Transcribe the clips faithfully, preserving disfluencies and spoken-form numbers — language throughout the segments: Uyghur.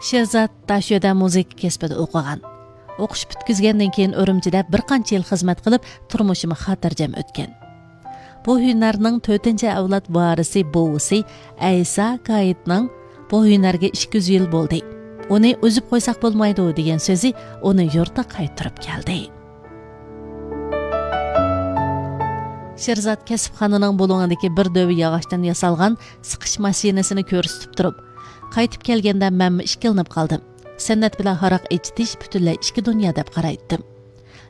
شېرزات داشۆدە مۇزىكا كەسپىدە ئوقۇغان. ئوقۇش پۈتكۈزگەندىن كېيىن ئۈرۈمچىدە بىر قانچە يىل خىزمەت قىلىپ، تۇرمۇشىمۇ خاتىرجەم ئۆتكەن. بۇ ھۈنەرنىڭ تۆتىنچى ئەۋلاد ۋارىسى بوۋىسى ئەيسا گايىتنىڭ «بۇ ھۈنەرگە ئىككى يۈز يىل بولدى، ئۇنى ئۈزۈپ قويساق بولمايدۇ» دېگەن سۆزى ئۇنى يۇرتىغا قايتۇرۇپ كەلدى. شېرزات كەسىپخانىنىڭ بۇلۇڭىدىكى بىر دۆۋە ياغاچتىن ياسالغان سىقىش ماشىنىسىنى كۆرسىتىپ تۇرۇپ، قايتىپ كەلگەندە مەنمۇ ئىككىلىنىپ قالدىم. سەنئەت بىلەن ھاراق ئېچىتىش پۈتۈنلەي ئىككى دۇنيا دەپ قارايتتىم.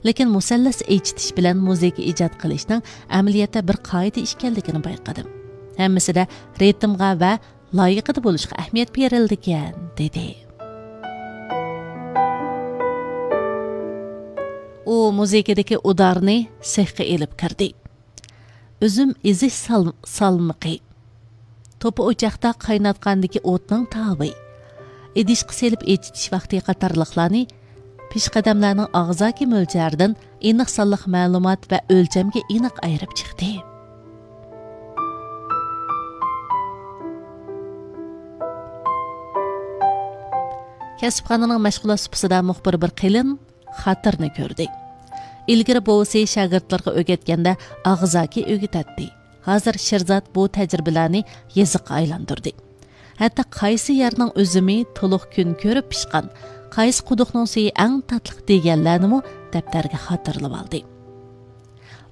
لېكىن مۇسەللەس ئېچىتىش بىلەن مۇزىكا ئىجاد قىلىشنىڭ ئەمەلىيەتتە بىر قائىدە ئىكەنلىكىنى بايقىدىم. ھەممىسىدە رىتىمغا ۋە لايىقىدا بولۇشقا ئەھمىيەت بېرىلىدىكەن، دېدى. ئۇ مۇزىكىدىكى ئۇدارنى سېخقا ئېلىپ كىردى. ئۈزۈم ئېزىش سال-، سالمىقى، توپا ئوچاقتا قايناتقاندىكى ئوتنىڭ تاۋى، ئىدىشقا سېلىپ ئېچىتىش ۋاقتى قاتارلىقلارنى پېشقەدەملەرنىڭ ئاغزاكى مۆلچەردىن ئېنىق سانلىق مەلۇمات ۋە ئۆلچەمگە ئېنىق ئايرىپ چىقتى. كەسىپخانىنىڭ مەشغۇلات سۇپىسىدا مۇخبىر بىر قېلىن خاتىرىنى كۆردى. ئىلگىرى بوۋىسى شاگىرتلىرىغا ئۆگەتكەندە ئاغزاكى ئۆگىتەتتى. ھازىر شېرزات بۇ تەجرىبىلەرنى يېزىققا ئايلاندۇردى. ھەتتا قايسى يەرنىڭ ئۈزۈمى تولۇق كۈن كۆرۈپ پىشقان، قايسى قۇدۇقنىڭ سۈيى ئەڭ تاتلىق دېگەنلەرنىمۇ دەپتەرگە خاتىرىلىۋالدى.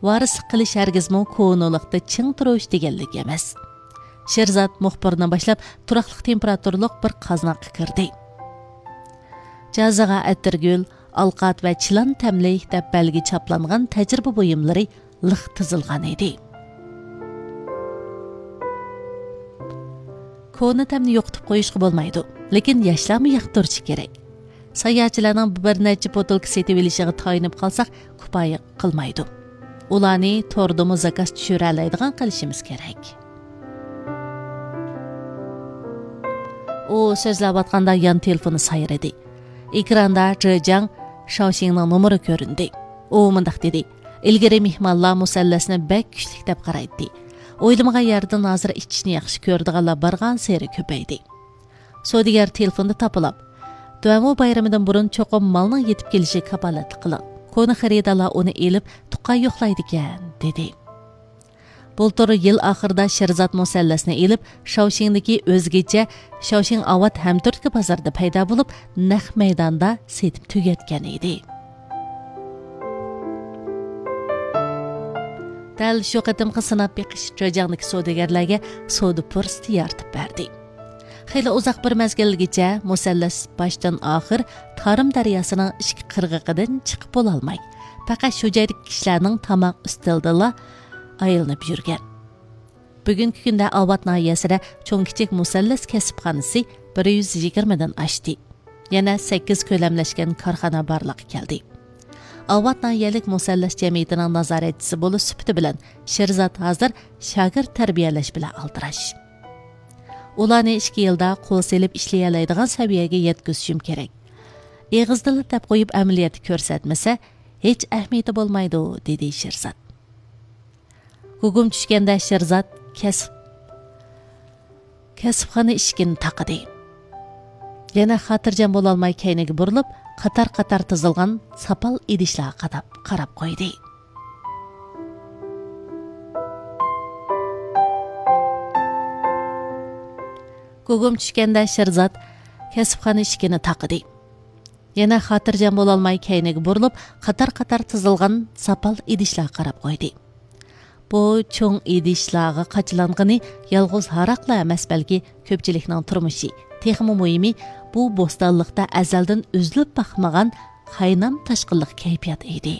ۋارىسلىق قىلىش ھەرگىزمۇ كونىلىقتا چىڭ تۇرۇش دېگەنلىك ئەمەس. شېرزات مۇخبىرنى باشلاپ، تۇراقلىق تېمپېراتۇرىلىق بىر قازناققا كىردى. جازىغا ئەتىرگۈل، ئالقات ۋە چىلان تەملىك دەپ بەلگە چاپلانغان تەجرىبە بۇيۇملىرى لىق تىزىلغان ئىدى. كونا تەمنى يوقىتىپ قويۇشقا بولمايدۇ، لېكىن ياشلارمۇ ياقتۇرۇشى كېرەك. ساياھەتچىلەرنىڭ بىر نەچچە بوتۇلكا سېتىۋېلىشىغا تايىنىپ قالساق، كۇپايە قىلمايدۇ. ئۇلارنى توردىمۇ زاكاز چۈشۈرەلەيدىغان قىلىشىمىز كېرەك. ئۇ سۆزلەۋاتقاندا يان تېلېفونى سايرىدى. ئېكراندا جېجاڭ شاۋشىڭنىڭ نومۇرى كۆرۈندى. ئۇ مۇنداق دېدى: «ئىلگىرى مېھمانلار مۇسەللەسنى بەك كۈچلۈك دەپ قارايتتى. ئويلىمىغان يەردىن ھازىر ئىچىشنى ياخشى كۆرىدىغانلار بارغانسېرى كۆپەيدى.» سودىگەر تېلېفوندا تاپىلاپ: «دۇئەمۇ بايرىمىدىن بۇرۇن چوقۇم مالنىڭ يېتىپ كېلىشىگە كاپالەتلىك قىلىڭ. كونا خېرىدارلار ئۇنى ئېلىپ، تۇغقان يوقلايدىكەن» دېدى. بۇلتۇر يىل ئاخىرىدا شېرزات مۇسەللەسنى ئېلىپ، شاۋشىڭدىكى ئۆزگىچە شاۋشىڭ ئاۋات ھەمتۈرتكە بازىرىدا پەيدا بولۇپ، نەق مەيداندا سېتىپ تۈگەتكەن ئىدى. دەل شۇ قېتىمقى سىناپ بېقىش جېجاڭدىكى سودىگەرلەرگە سودا پۇرسىتى يارىتىپ بەردى. خېلى ئۇزاق بىر مەزگىلگىچە مۇسەللەس باشتىن ئاخىر تارىم دەرياسىنىڭ ئىككى قىرغىقىدىن چىقىپ بولالماي، پەقەت شۇ جايدىكى كىشىلەرنىڭ تاماق ئۈستىلىدىلا ئايلىنىپ يۈرگەن. بۈگۈنكى كۈندە ئاۋات ناھىيەسىدە چوڭ كىچىك مۇسەللەس كەسىپخانىسى بىر يۈز يىگىرمىدىن ئاشتى. يەنە سەككىز كۆلەملەشكەن كارخانا بارلىققا كەلدى. ئاۋات ناھىيەلىك مۇسەللەس جەمئىيىتىنىڭ نازارەتچىسى بولۇش سۈپىتى بىلەن شېرزات ھازىر شاگىرت تەربىيەلەش بىلەن ئالدىراش. ئۇلارنى ئىككى يىلدا قول سېلىپ ئىشلىيەلەيدىغان سەۋىيەگە يەتكۈزۈشۈم كېرەك. ئېغىزدىلا دەپ قويۇپ، ئەمەلىيەتتە كۆرسەتمىسە، ھېچ ئەھمىيىتى بولمايدۇ، دېدى شېرزات. گۇگۇم چۈشكەندە شېرزات كەسىپ، كەسىپخانا ئىشىكىنى تاقىدى. يەنە خاتىرجەم بولالماي كەينىگە بۇرۇلۇپ، قاتار-قاتار تىزىلغان ساپال ئىدىشلارغا قاداپ، قاراپ قويدى. گۇگۇم چۈشكەندە شېرزات كەسىپخانا ئىشىكىنى تاقىدى. يەنە خاتىرجەم بولالماي كەينىگە بۇرۇلۇپ، قاتار-قاتار تىزىلغان ساپال ئىدىشلارغا قاراپ قويدى. بۇ چوڭ ئىدىشلارغا قاچىلانغىنى يالغۇز ھاراقلا ئەمەس، بەلكى كۆپچىلىكنىڭ تۇرمۇشى، تېخىمۇ مۇھىمى، بۇ بوستانلىقتا ئەزەلدىن ئۈزۈلۈپ باقمىغان قاينام تاشقىنلىق كەيپىيات ئىدى.